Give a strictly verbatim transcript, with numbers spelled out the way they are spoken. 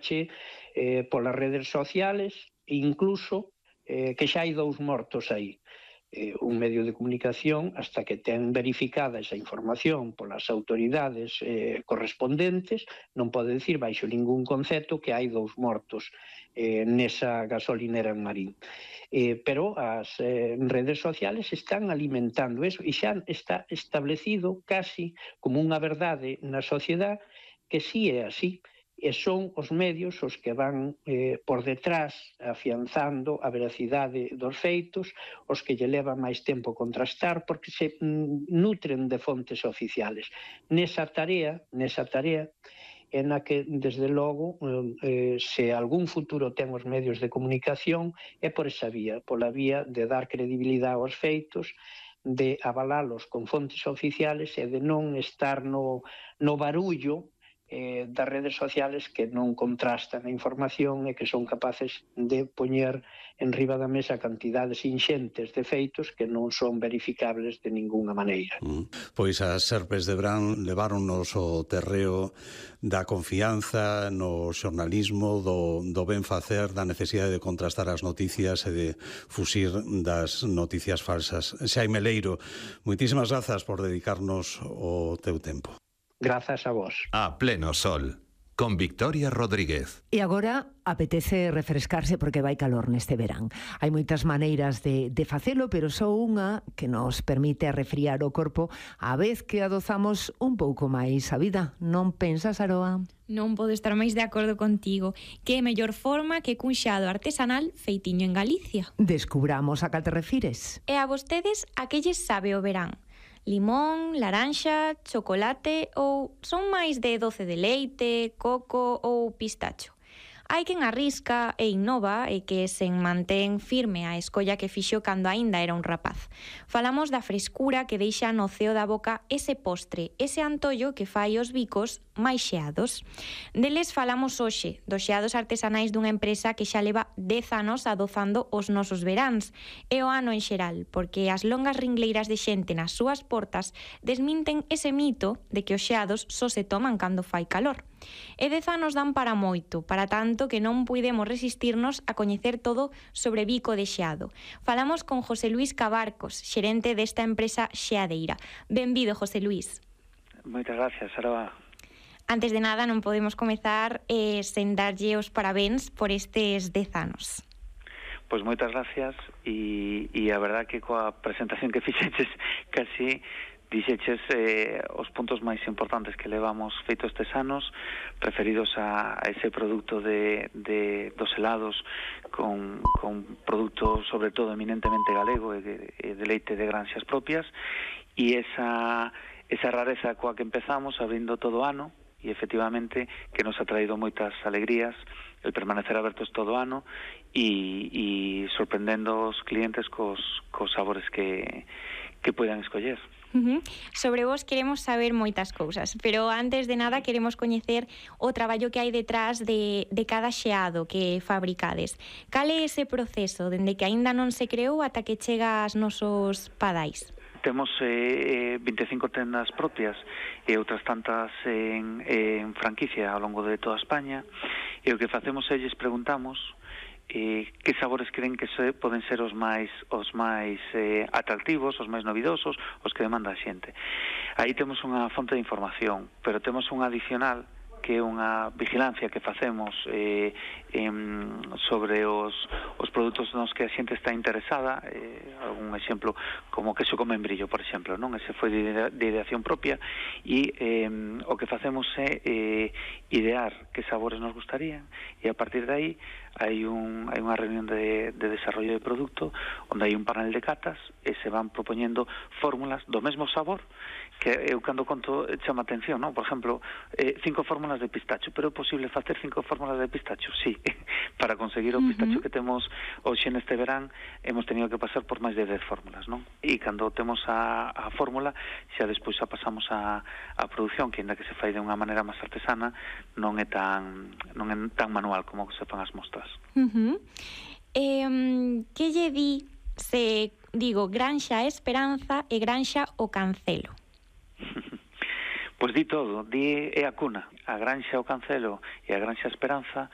eh, polas redes sociales, incluso eh, que xa hai dous mortos aí. Eh, un medio de comunicación, hasta que ten verificada esa información polas autoridades eh, correspondentes, non pode dicir baixo ningún concepto que hai dous mortos eh, nesa gasolinera en Marín. Eh, pero as eh, redes sociales están alimentando eso e xa está establecido casi como unha verdade na sociedade que sí é así. E son os medios os que van eh, por detrás afianzando a veracidade dos feitos, os que lle levan máis tempo contrastar porque se mm, nutren de fontes oficiales. Nesa tarea, nesa tarea en a que, desde logo, eh, se algún futuro ten os medios de comunicación é por esa vía, pola vía de dar credibilidade aos feitos, de avalalos con fontes oficiales e de non estar no, no barullo Eh, das redes sociales que non contrastan a información e que son capaces de poñer en riba da mesa cantidades inxentes de feitos que non son verificables de ninguna maneira. Mm. Pois as Serpes de Brán leváronnos o terreo da confianza no xornalismo, do, do ben facer, da necesidade de contrastar as noticias e de fusir das noticias falsas. Xaime Leiro, moitísimas grazas por dedicarnos o teu tempo. Grazas a vos. A pleno sol, con Victoria Rodríguez. E agora apetece refrescarse porque vai calor neste verán. Hai moitas maneiras de, de facelo, pero só unha que nos permite refriar o corpo a vez que adozamos un pouco máis a vida. Non pensas, Aroa? Non podo estar máis de acordo contigo. Que mellor forma que cun xeado artesanal feitiño en Galicia. Descubramos a cal te refires. E a vostedes a que lles sabe o verán? Limón, laranxa, chocolate ou son máis de doce de leite, coco ou pistacho? Hai quen arrisca e innova e que sen mantén firme a escolla que fixo cando aínda era un rapaz. Falamos da frescura que deixa no ceo da boca ese postre, ese antollo que fai os bicos máis xeados. Deles falamos hoxe, dos xeados artesanais dunha empresa que xa leva dez anos adozando os nosos veráns e o ano en xeral, porque as longas ringleiras de xente nas súas portas desminten ese mito de que os xeados só se toman cando fai calor. E dez anos dan para moito, para tanto que non puidemos resistirnos a coñecer todo sobre bico de xeado. Falamos con José Luís Cabarcos, xerente desta empresa xeadeira. Benvido, José Luís. Moitas gracias, Aroa. Antes de nada, non podemos comezar eh, sen darlle os parabéns por estes dez anos. Pois moitas gracias e, e a verdad que coa presentación que fixeches casi dixeches eh, os puntos máis importantes que levamos feito estes anos referidos a, a ese produto de, de dos helados con, con produto sobre todo eminentemente galego e de, de leite de granxas propias e esa, esa rareza coa que empezamos abrindo todo o ano e efectivamente que nos ha traído moitas alegrías el permanecer abertos todo o ano e, e sorprendendo os clientes cos, cos sabores que, que puedan escoller. Uh-huh. Sobre vos queremos saber moitas cousas, pero antes de nada queremos coñecer o traballo que hai detrás de, de cada xeado que fabricades. Cal é ese proceso, dende que aínda non se creou ata que chega aos nosos padais? Temos eh, vinte e cinco tendas propias e outras tantas en, en franquicia ao longo de toda España e o que facemos é lles preguntamos eh, que sabores creen que se, poden ser os máis os máis eh, atractivos, os máis novidosos, os que demanda a xente. Aí temos unha fonte de información, pero temos unha adicional que é unha vigilancia que facemos eh, em, sobre os, os produtos nos que a xente está interesada, eh, algún exemplo como queso con membrillo, por exemplo, non? Ese foi de, de ideación propia e eh, o que facemos é eh, idear que sabores nos gustarían e a partir de aí hai, un, hai unha reunión de, de desarrollo de produto onde hai un panel de catas e se van propoñendo fórmulas do mesmo sabor que eu cando conto chama atención, non? Por exemplo, eh, cinco fórmulas de pistacho, pero é posible facer cinco fórmulas de pistacho? Sí, para conseguir o pistacho uh-huh. que temos hoxe neste verán hemos tenido que pasar por máis de dez fórmulas, non? E cando temos a, a fórmula xa despois a pasamos a, a produción, que ainda que se fai de unha maneira máis artesana non é tan non é tan manual como se fan as mostras. Uh-huh. eh, que lle di se digo Granxa Esperanza e Granxa O Cancelo? Pois di todo, di é a cuna. A Granxa O Cancelo e a Granxa Esperanza